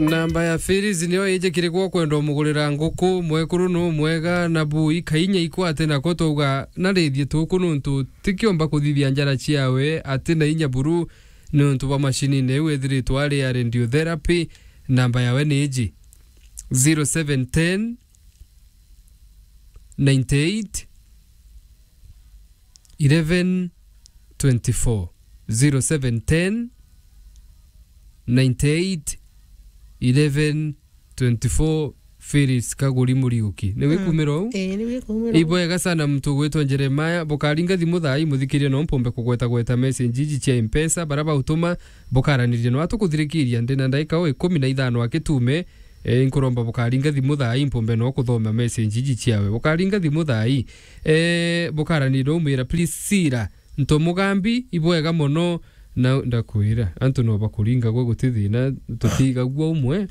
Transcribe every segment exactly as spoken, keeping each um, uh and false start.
Namba ya Phyllis niyo ijikirigwo kwenda umugurira nguku. Mwekuru nu mwega na bui kainya ikwate nako twauga narithie tuku nuntu tikiomba kuthithia njara ciawe ati na inya buru nuntu bwa mashinine iu ethiritwe ari ya radiotherapy. Namba yawe ni iji, zero seven ten, ninety eight, eleven twenty-four, zero seven ten, ninety eight, eleven twenty-four. Phyllis Kaguri Muriuki. Ni wikumira uu? Ii, ni wikumira uu. Ibwega sana mtu gwitwa Jeremiah. Bukaringa thimu thaa ii, muthikirie no mpombe kugweta gweta message iji cia Mpesa. Bara bautuma, bukaraniria no atukuthirikiria. Ndina ndaika o ikumi na ithano akitume. E, nkuromba bukaringa thimu thaa ii mpombe no kuthoma message iji ciawe. Bukaringa thimu thaa ii. E, bukaraniria no umwira, Priscilla Ntomugambi, ibwega mono. Na ndakwira, antu no bakuringa gwe guti thina, tutigagua umwe.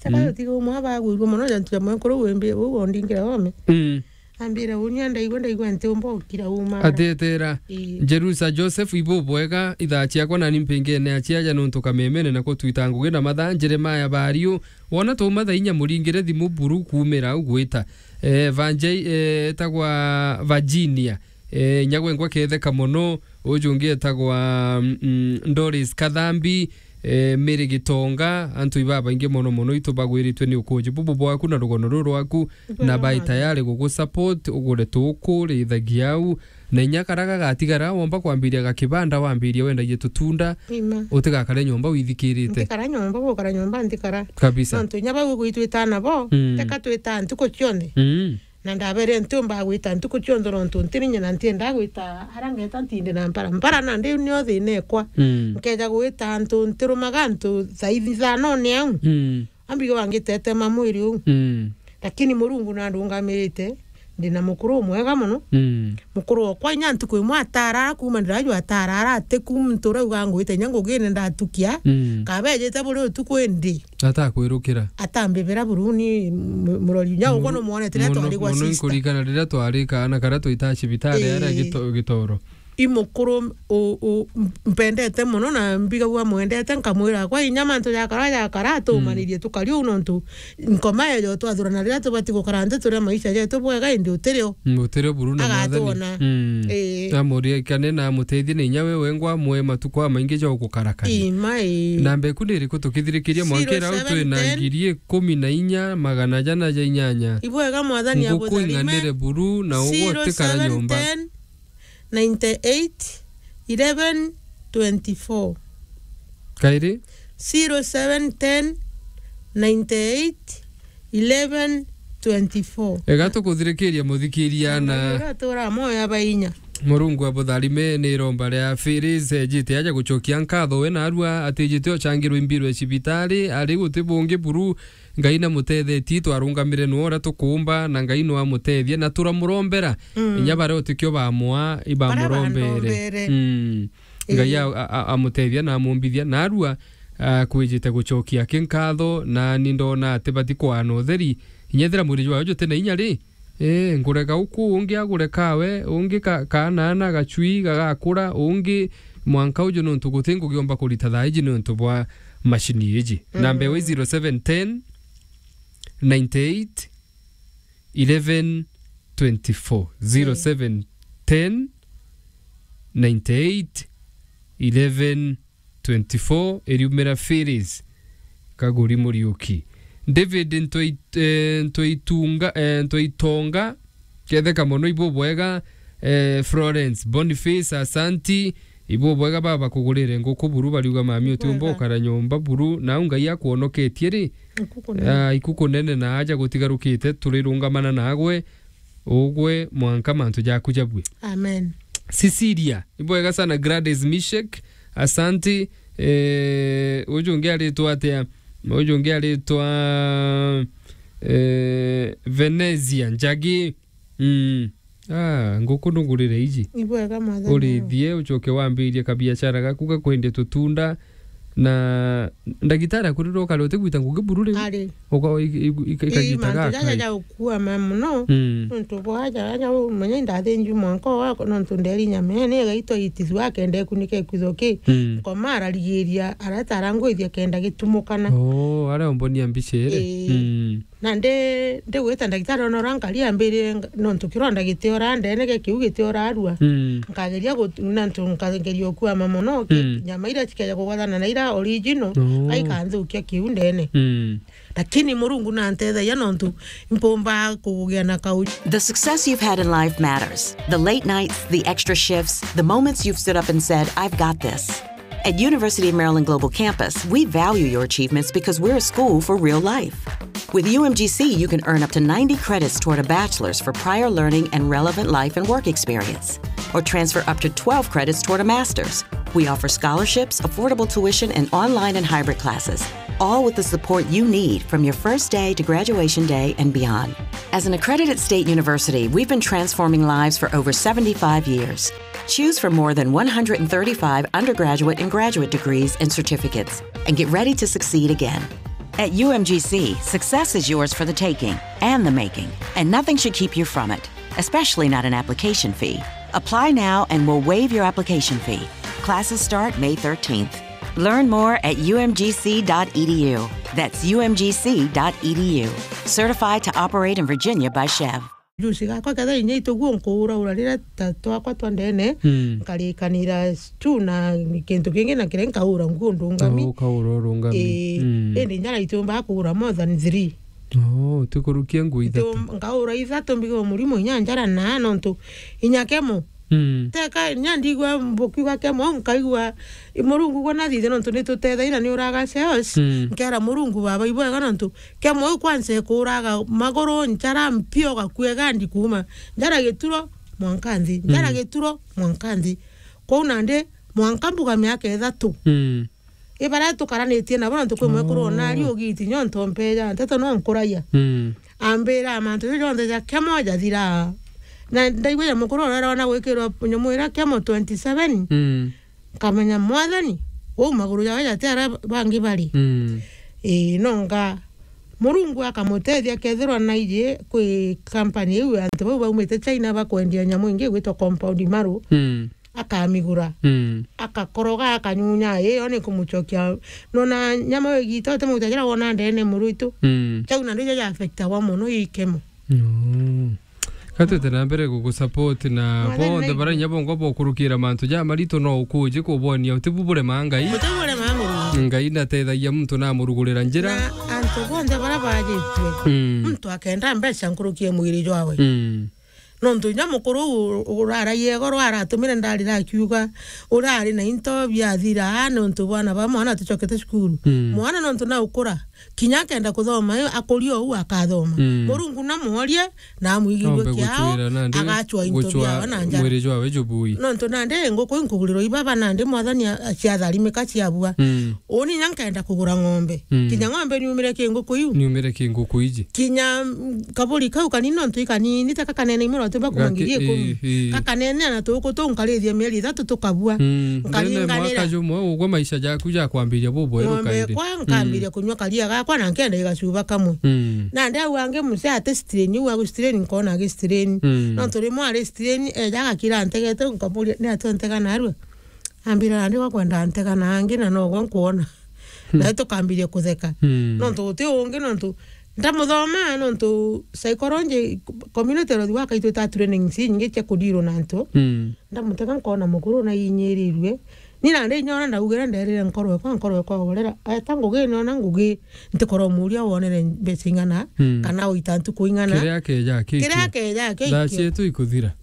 Saka Mm. tutiga umwe abagwirwe mono, jantu ja mwenkuru wimbi, uu ondingira ome. Mm. Ambira, "Unya ndaigua, ndaigua nti umba ukira uma." Atetera. Ii. Jerusa Joseph, ibu bwega, ithaa ciakwa nani mpingene aciaja nuntu kamemene na kutwita ngugi na mathaa. Jeremiah Bariu, wona tuma thaa inya muringire thimu buru kumira au gwita. Eh, Vanjai, eh, etagwa Virginia. Eh, nyagwengwa ketheka mono, uju ungi etagwa, mm, Doris Kathambi, eh, Mary Gitonga, antu ibabaingi mono mono itu bagwiritwe ni ukuji bubu bwaku na rugono ruru rwaku, na bai tayari gugu support, ugure tuku, rithagia au, na inya kara gagatigara, womba kwambiria gakibanda, wambirie wendagie tutunda, Ima. utigakare nyomba withikirite. Ntikara nyomba, gukara nyomba ntikara. Kabisa. Nontu inya bau gwitwita nabo, Mm. teka twita ntuku cionthe. Mm. Na ndabere ntiumba gwita ntuku cionthe nontu ntiri nyina ntienda gwita ara ngeta ntinde na mpara. Mpara na ndiu nio thina ekwa. Mm. Nkeja gwita antu ntirumaga antu thaa ithanone au. Mm. Ambigo wangitete ma mwiri uu. Mm. Lakini Murungu nandungamirite, ndina mukuru umwega mono. Mm. Mukuru okwa inya ntuku imwe atarara kuma ndiraju atarara ati kuma nturauga ngwite inya ngugine ndatukia. Mm. Kabejite buri utuku indi. Atakwirukira. Atambibira buruni mu-, murori. Nya ugwe numwonete riria twari gwa sister. Muno nkurikana riria twari kaana karia twitaa cibitari aria Ii. Gito-, Gitoro. I mukuru u-, u-, mpendete mono na mbigagua mwendete, nkamwira, "Kwa inya mantu jakara jakara, tumanirie tukari uu nontu nkoma ejo twathurana riria tubati gukara nthi turia maisha jetu bwega, indi utirio." Mm, utirio buru na mwathani. Agatwona. Mm. Ii. Amuria ikane na amutethie na inya we wengwa mwe matuku amaingi ja ugukarakania. Ima ii. Namba eku ni iriku tukithirikiria mwankira au twina zero seven ten ngiri ikumi na inya magana jana ja inyanya. Ibwega mwathani. Nguku abutharime. Ing'anire buru na ugwe utikara nyomba. Zero seven ten ninety eight eleven twenty four. Kairi? Zero seven ten ninety eight eleven twenty four. Ega tukuthirikiria muthikiria na Ira tura moyo aba inya. Murungu abutharime ni iromba ria Phyllis, ejite aja gucokia nkatho we narua atijite ocangirwe imbirwe cibitari, ari guti bungi buru Ngai namutethetie, twarungamire nwe uria tukuumba, na Ngai nwamuteethia, na turamurombera. Mm. Inya baria utikio bamwa, ibamurombere. Baria bandombere. Mm. Ngai Ii. a-, a-, a-, amutethia na amumbithia, narua, a, kwijite gucokia kinkatho, na ni ndona ati bati kwaana utheri. Inya ethira mwiri jwawe juti na inya ri, Ee, ngurega uku, ungi agure kawe, ungi ka-, kaanaana gacui gagakura, ungi mwanka uju nontu guti ngugiomba kurita thaa iji nontu bwa mashini iji. Mm. Namba ewe zero seven ten ninety eight eleven twenty four. Zero seven ten ninety eight eleven twenty four, iriumira Phyllis Kaguri Muriuki. David Ntoi-, eh, Ntoitunga, eh, Ntoitonga, ketheka mono, ibubwega, eh, Florence Boniface, asanti, ibubwega baba kugurire nguku buru, bariuga mami utiumba ukara nyomba buru, nau Ngai akwonoketie ri? Ikuku nene. Ah, ikuku nene na aja gutigarukite, turirungamana nagwe, ugwe mwanka mantu jaku jabue. Amen. Cecilia, ibwega sana. Gladys Mishek, asanti. Eh, uju ungi aritwa atia? Uju ungi aritwa, eh, Venezia Njagi. Mm. Ah, nguku ndungurire iji. Ibwega mwathani. Urithie, ucoke wambirie kabiashara gaku ga kwendia tutunda. Na ndagitari akurirwo ukari utigwita ngugi buru riu? Ari. Uka-, i-, i-, i-, Ii, ikagita mantu jaja gaka. Ja gukua ma muno. Mm. Nontu bwa jaja umenya indathinju mwanka wako, nontu nderi nyama ene igaitwa itithua kenda ikunike kwitho ki. Mm. Nkoma ararigiria, areta arangwithia kenda gitumukana. Oh, aria umbonia mbica iri. Ii. Mm. Na ndi, ndigwita ndagitari ona uria nkari ambirire nga-, nontu kironda gitiora ndene, ge kiu gitiora arua. Mm. Nkageria gut-, nontu nkageria ukuama mono, ki-, Mm. nyama iria cikeja kugwathana na iria original, Oh. aikanthukia kiu ndene. Mm. Lakini Murungu nantethagia nontu mpumba kugia na kau. The success you've had in life matters. The late nights, the extra shifts, the moments you've stood up and said, "I've got this." At University of Maryland Global Campus, we value your achievements because we're a school for real life. With U M G C, you can earn up to ninety credits toward a bachelor's for prior learning and relevant life and work experience, or transfer up to twelve credits toward a master's. We offer scholarships, affordable tuition, and online and hybrid classes, all with the support you need from your first day to graduation day and beyond. As an accredited state university, we've been transforming lives for over seventy-five years. Choose from more than one hundred thirty-five undergraduate and graduate degrees and certificates, and get ready to succeed again. At U M G C, success is yours for the taking and the making, and nothing should keep you from it, especially not an application fee. Apply now and we'll waive your application fee. Classes start May thirteenth. Learn more at U M G C dot E D U. That's U M G C dot E D U. Certified to operate in Virginia by Chev. Juice gakwa ketha inya ituguo nkuuraura riria ta twakwa twa ndene, Mm. nkarikanira stew na kintu kingi na kiria nkaura nguo ndungami. Oh, ukaura urungami. Ii, Mm. indi njara itiumbaga kuura more than three. Oh, tikurukia nguo ithatu. Nkaura ithatu mbigirwe murimo inya njara na nontu inya kemo. Mm. Teka, inya ndigua mbukiuga kemo, nkaigua, i Murungu gwe nathithie nontu nitutethaira ni uraga sales. Mm. Nkera Murungu, Baba, ibwega nontu kemo iu kwanza ikuraga maguru, njara mpio, gakuega ndikuuma. Njara gituro, mwanka nthi. Njara Mm. gituro, mwanka nthi. Kwou nandi, mwanka mbuga miaka ithatu. Mm. I baria tukaranitie nabo, nontu kwi mwekuru Oh. ona ari ugiti, nyo ntompeja, nteto no nkuragia. Mm. Ambira mantu jau jonthe ja kemo jathira. Na ndaigua ja mukuru ura arona gwikirwa nyamu iria kemo twenty seven. Mm. Nkamenya, Mwathani, uu maguru jawe jati aria bangi bari. Mm. Ii, nonga Murungu akamutethia, akethirwa naiji kwi company iu antu bau baumite China bakwendia nyamu ingi igwitwa compound marrow. Mm. Akamigura. Mm. Akakoroga, akanyunya, ii, yo ni kumucokia. Nona nyama wigite, uti mauta jira wona ndene muru itu. Mm. Jau na ndio ja affectagwa mono ii kemo. Mm. Ka twite na mbere gugusupport na Mwathani bonthe na baria inya bongwa bokurukira mantu ja maritu no ukuji kubonia uti bu burema Ngai. Uti burema Murungu. Ngai natethagia muntu na amurugurira njira. Na antu bonthe baria bajitue. Mm. Muntu akenda mbeca nkuruki e mwiri jwawe. Mm. Nontu inya mukuru uu uraragia igoro aratumire ndarira akiuga, urari na into biathira, nontu bwana ba mwana atucokete cukuru. Mm. Mwana nontu naukura, kinya akenda kuthoma, akuria uu akathoma. Mm. Murungu namworie, na amwigirue Ombe kiao, gucwira nandi, agacwa into gucwa biawe na njara. Mwiri jwawe jubui. Nontu nandi nguku inkugurirwa ibaba nandi Mwathani a-, ciatharimika ciabua. Mm. Uni inya nkenda kugura ng'ombe. Mm. Kinya ng'ombe niumire ki nguku iu. Niumire ki nguku iji. Kinya, mm, kaburi kau kanini nontu ikanini, ta kakanene imwe no tumba kuma Gaki-, ngiri ikumi. Ii, ii. Kakanene na tuku tuu nkarithia mieri ithatu tukabua. Mm. Nkaringanira. Ndene mwaka jumwe ugwe maisha jaku jakwambiria bubweru Ng'ombe kairi. Kwa nkambiria Mm. kunywa karia gakwa na nkenda igacuba kamwe. Mm. Nandi au angi muse ate strain, iu agu strain nkona agi strain. Mm. Nontu rimwe ari strain, eja agakira ntegete, nkamuria, "Ni atia ntega narua?" Ambira, "Nandi gwakwenda ntega na angi na nogwe nkwona." Hmm. Nawe tukambiria kutheka. Hmm. Nontu guti ungi, nontu ndamuthoma, nontu psychology, community health worker itwita training ici nyingi cia kudeal na antu. Hmm. Ndamutega nkona mukuru na inyirirue. Ni nandi inya ona ndaugire nderire nkoro ekwa, nkoro ekwa gorera. Eta ngugi ni ona ngugi ntikorwo muria wonere mbeca ing'ana, Hmm. kana oita ntuku ing'ana. Kiria akeja akikio. Kiria akeja akikio. Thaa cietu ikuthira.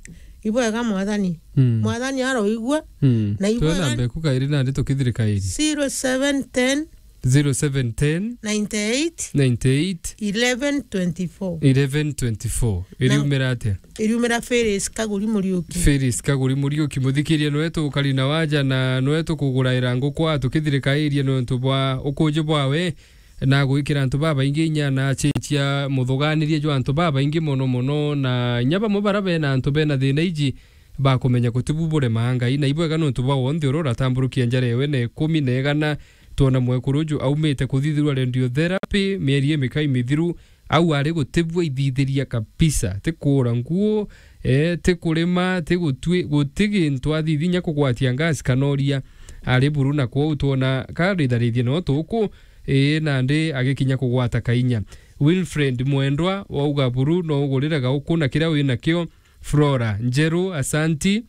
Ibwega Mwathani. Mm. Mwathani aroigua. Mm. Na ibwega. Twena mbeku kairi nandi tukithirikairie. Zero seven ten. Zero seven ten. Ninety eight. Ninety eight. Eleven twenty four. Eleven twenty four. Na iriumira atia? Iriumira Phyllis Kaguri Muriuki. Phyllis Kaguri Muriuki, muthikiria nwe tukari na waja na nwe tukuguraira nguku a tukithirikairie nontu bwa ukuji bwawe. Na gwikira antu babaingi inya na acicia muthuganirie jwa antu babaingi mono mono, na inya bamwe bara bena antu bena thina iji bakumenya gutibu buremaa Ngai, na ibwega nontu bwa wonthe uria uratamburukia njara ewe na ikumi na igana, twona mwekuru uju aumite kuthithirwa radiotherapy mieri imikai mithiru, au ari gutibua ithithiria kabisa, ti kuura nguo, eh, ti kurima, ti gutwi-, guti gintu athithi inya kugwatia gas kana uria. Ari buru na kwou twona karitharithie no tuku, ii, nandi agikinya kugwata kainya. Wilfred Mwendwa wauga buru no ugurire gauku na kiria winakio. Flora Njeru, asanti.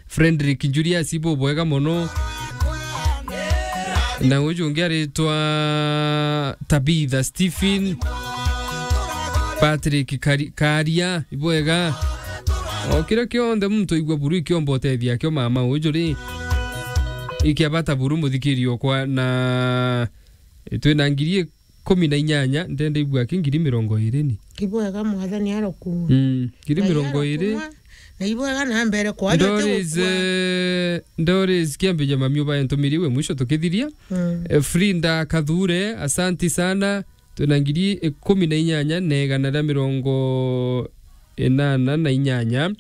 Frederick Julius, bubwega mono. Na uju ungi aritwa Tabitha Stephen, Patrick Kari-, Karia, ibwega. O kiria kionthe muntu aigua buru ikiomba utethia akio mama uju ri. Ikia bata buru muthikiri okwa na twina ngiri ikumi na inyanya, ndenda ibua aki ngiri mirongo iri ni. Ibwega mwathani arokua. Mm, ngiri mirongo iri. Na ibwega na mbere kwa Doris, eh, Doris Kiambi ja mami ubae ntumiri we mwisho tukithiria. Mm. Eh, Frinda Kathure, asanti sana. Twina ngiri ikumi na inyanya na igana ria mirongo inana na inyanya.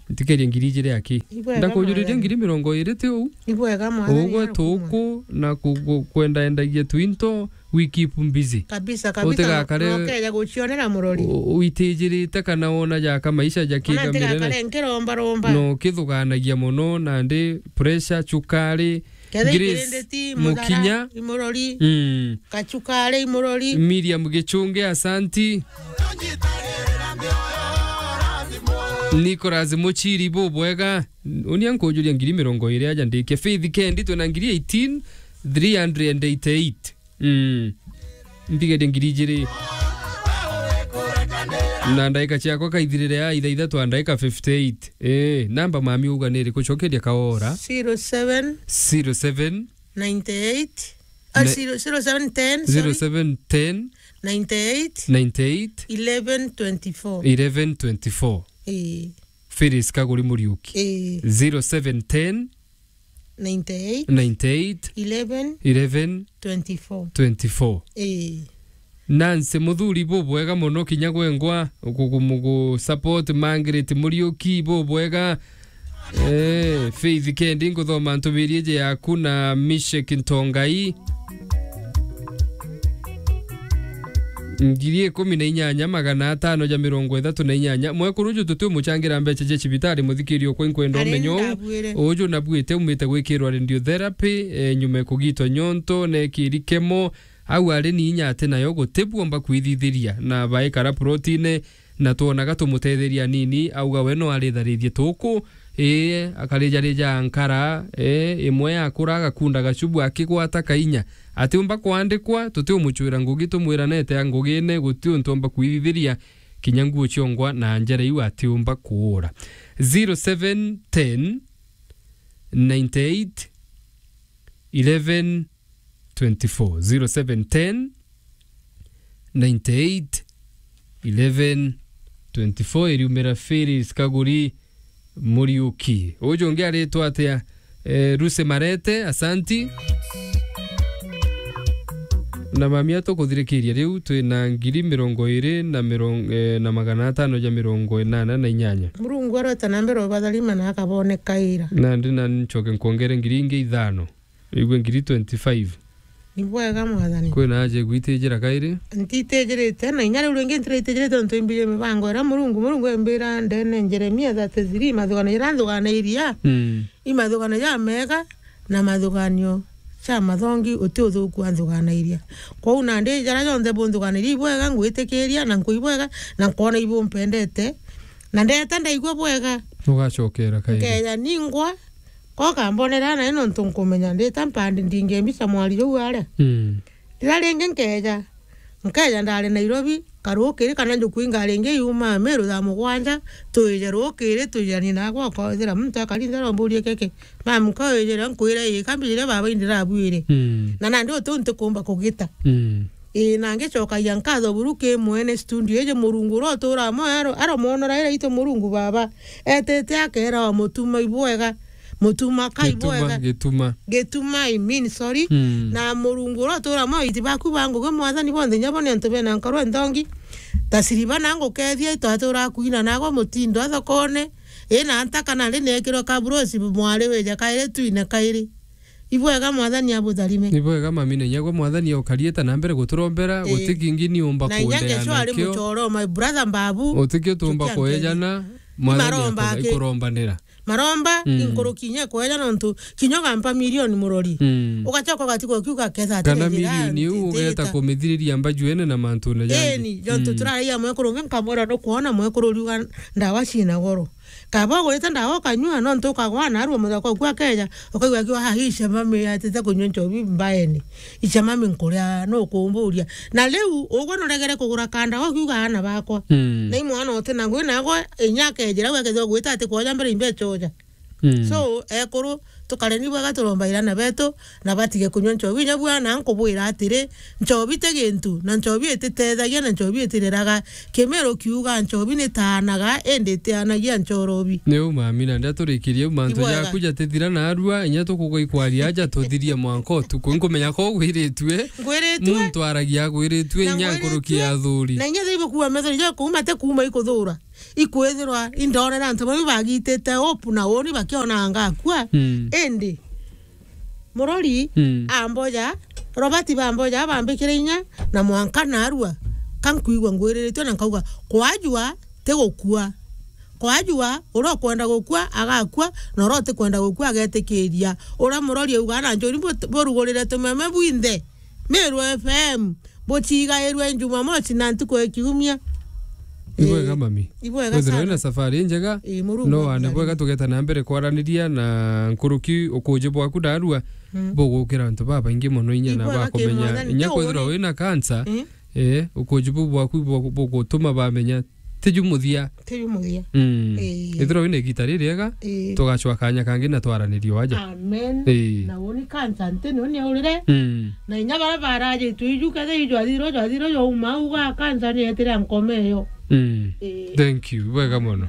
Ntikerie ngiri ijiri aki. Ibwega ndakujuririe mwathani. Ngiri mirongo iri ti uu? Ibwega mwathani. Ugwe tuku na ku-, ku-, kwendaendagia twinto, we keep busy. Kabisa, kabisa. Utigakare no-, nokeja gucionera murori. U-, uitijirite kana wona jaka maisha jakigamirene. Ona ntigakare nkiromba romba. No kithuganagia mono nandi pressure, cukari, Kethira Grace ikirinditi, muthara, Mukinya. Imurori. Mm. Kachukari imurori. Miriam Gichunge, asanti. Nicholas Muchiri, bubwega. Unia nkujuria ngiri mirongo iri aja ndikie. Faith Kendi, twina ngiri eighteen, three hundred eighty-eight. Mm. Mbigerie ngiri ijiri. Na ndaika ciakwa kaithirire ya ithaithatu a ndaika fifty-eight. Eh, namba mami uga ni iriku? Cokeria kaora. Zero seven. Zero seven. Ninety-eight. Ah, ne- zero, zero seven ten, sorry. Zero seven ten. Ninety-eight. Ninety-eight. Eleven twenty-four. Eleven twenty-four. Eh. Phyllis Kaguri Muriuki. Eh. Zero seven ten. Ninety-eight. Ninety-eight. Eleven. Eleven. Twenty-four. Twenty-four. Eh. Nancy Muthuri, bubwega mono kinya gwengwa, uku-, kumu-, gu-, support Margaret Muriuki, bubwega. Eh, Faith Kendi, nguthoma ntumirie je yaku na Mishek Ntongai. Ngiri ikumi na inyanya, magana atano ja mirongo ithatu na inyanya. Mwekuru uju tutiumuchangira mbecha cia cibitari, muthikiri okwa, inkwenda umenye uu. Uju nabuite, umite gwikirwa radiotherapy, eh, nyuma ya kugitwa nyonto, nekiri kemo, au ari ni inya ati nayo gutibwomba kwithithiria, na baikara plotine, na twonaga tumutetheria anini, auga we no aritharithie tuku, ii, akarijarija nkara, ii, imwe yakura agakunda gacubu akigwata kainya. Atiumba kwandikwa, tutiumucwira ngugi tumwiranete a ngugine, guti untu omba kwithithiria, kinya nguo ciongwa na njara iu atiumba kuura. Zero seven ten ninety-eight eleven twenty-four, zero seven ten, ninety-eight, eleven, twenty-four, iriumira Phyllis Kaguri Muriuki. Uju ungi aritwa atia? Eh, Ruse Marete, asanti. Na mamia tukuthirikiria riu, twina ngiri mirongo iri na mirongo, eh, na magana atano ja mirongo inana na inyanya. Murungu arota na mbere ubatharima na akabonekaira. Nandi na ncoke nkwongere ngiri ingi ithano. Igue ngiri twenty-five. Ni bwega, mwathani. Kwina aja igwitijira kairi? Ntitijirite, na inya riu ringi ntiraitijirite untu imbirie mibango iria Murungu, Murungu embira ndene Jeremia thirty-three, mathugano jaria nthuganairia, mm, i mathugano jamega na mathugano ja mathongi uti uthuku anthuganairia. Kwou nandi jaria jonthe bunthuganairia ibwega, ngwitikiria na nkwibwega, na nkwona ibumpendete, na ndeta ndaigua bwega. Ugacokera kairi. Nkeja ningwa, Ko kambonera nae nontu nkumenya ndita mpandi ndingembica mwari juu aria. Mm. Riria ringi nkeja, nkeja ndari Nairobi, karukiri kana njuku ingari ingi yuma Meru thaa mugwanja, twije rukiri, twijani nagwa, ukaithira muntu akari nthara umburie keke. Mami, nkawijire nkwire ii, kambijire baba indirabwire. Mm. Na nandi utiu ntikumba kugita. Mm. Ii, na ngicokagia nkatho buru ki mwene studio iji Murungu uria uturaa mwoyo aro-, aromwonora ira itu Murungu baba. Etete akeera wa mutuma ibwega. Mutuma ka ibwega. Gituma, gituma. Gituma, I mean, sorry. Mm. Na Murungu uria uturaa mwoyo iti baku ba ngugi mwathani bonthe inya bo ni antu bena nkoro nthongi. Ta siriba na ngukethia itwaturaa kwina nagwa mutindo a thokone. Ii na nta kana ri nekirwe kaburosi mwari wije kairi twine kairi. Ibwega Mwathani abutharime. Ibwega mami, na inya gwe Mwathani okarieta na mbere guturombera, eh, guti kingi ni umba na inya kuendeana ngeco ari nakio. Muchoro, my brother Mbabu. Utikio tumba kuejana, Mwathani maromba aka-, aki-, ikurombanira. Maromba, mm, inkuruki inya kueja nontu kinya ugampa milioni murori. Mm. Ugacoka ugatigwa ukiuga ketha atiri njira. Kana milioni iu ugeta kumithiriria mbajuene na mantune jangi. Eni, jontu, mm, turaragia mwekuru ungi nkamwira nukwona mwekuru uriuga ndawa cina goro. Kaba ugurite ndawa ukanyua, nontu ukagwa narua muthaka uku akeja, ukaigua akiuga, "Ha, hii chemami yatite kunyua nchobi mbaene. Ichemami nkuria, nukumburia." Na riu, ugwe nuregere kugura kandawa ukiuga, "Aana bakwa." Mm. Na i mwana uti na ngui, nagwe inya akejira, we akethirwa gwita ati kwoja mbere imbecha oja. Mm. So, ekuru, tukareni bwega turomba irana betu, na batige kunyua nchobi. Inya bwana nkubwira atiri, nchobi ti gintu, na nchobi ititethagia, na nchobi itireraga. Kimiru kiuga nchobi nitaanaga, indi itianagia nchorobi. Ni u mami, na ndia turikirie u mantu jaku jatithira narua, inya tukugwa ikwaria aja tuthirie mwanka utuku. Nkumenya ko ugwiritue. Ngwiritue. Muntu aragia agwiritue, na inya ngwiritue. Nkuruki ya athuri. Na inya thaibu kuuma methori ja kuuma ti kuuma ikuthura. Ikwithirwa indonere antu bamwe bagitite hope na uni bakiona ngakua. Mm. Indi, murori, mm, amboja, Robert bamboja, bambikire inya, na mwanka narua, ka nkwigua ngwiriritue na nkauga, "Kwajua, ti gukua. Kwajua, uria ukwenda gukua, agakua, na uria utikwenda gukua, agetikiria." Uria murori auga, "Na njuri bu-, burugurire tumeme bwinthe." Meru F M, buchigairwe Jumamosi na ntuku ya kiumia. Ibwega, eh, mami. Ibwega sana. Withirwe wina safari njega. Eh, Murungu no wane akubariki. Bwega tugeta na mbere kwaraniria na nkuruki ukuji bwaku narua, mm, bugukira antu babaingi mono inya na ibwega bakumenya. Kimwathani. Inya kwithirwa wina cancer, mm, eh, ukuji bu bwaku bu-, bugutuma bamenya tiju muthia. Tiju muthia. Mm. Ii. Ethirwa wina igita ririega, ii, tugacwa kanya kangi na twaranirie o aja. Amen. Ii. Na uni cancer nti ni uni aurire. Mm. Na inya baria barajitwe iju, kethira iju athirwe, athirwe, auma uga cancer ni etire nkome iyo. Mm. Ii. Thank you. Bwega mono.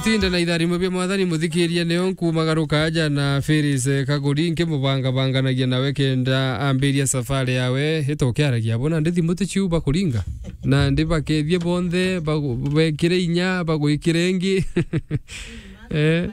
Tinda na itharimo bia Mwathani, muthikiria, nio nkumagaruka aja na Phyllis, eh, Kaguri, nkimubangabanganagia nawe kenda ambiria safari yawe. Itokiaragia bona ndi thimu ticiu bakuringa. Na ndi bakethie bonthe, bagu-, bekire inya, bagwikire ingi. Eh,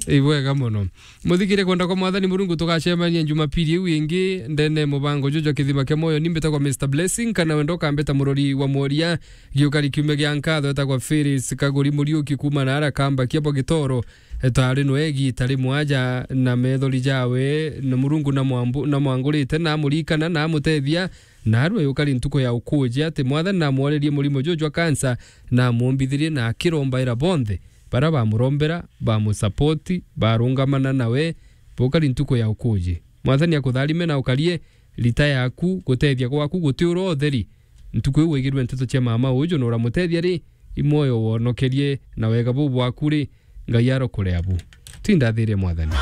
ibwega mono. Muthikirie kwenda kwa Mwathani Murungu, tugacemania Jumapili iu ingi ndene mubango juju jwa Kithima kia Mwoyo. Ni mbitagwa Mister Blessing, kana wenda ukambita murori wa mworia. Giukari kiumia gia nkatho etagwa Phyllis Kaguri Muriuki kuuma na ara kamba kia bwa Gitoro. Etari nwe igita rimwe aja na methori jawe, na Murungu na mwambu-, na mwangurite, na amurikana, na amutethia, na arua yukari ntuku ya ukuji ati Mwathani na amworerie murimo juju jwa kansa, na amumbithirie, na akirombaira bonthe. Bara bamurombera, bamusapoti, barungamana nawe, bukari ntuku ya ukuji. Mwathani akutharime na ukarie rita yaku, gutethia gwaku guti ura utheri. Ntuku iu waigirue nteto cia mama uju na uramutethia ri, i mwoyo wonokerie na wega buu bwaku ri, Ngai arokore abu. Tindathirie Mwathani.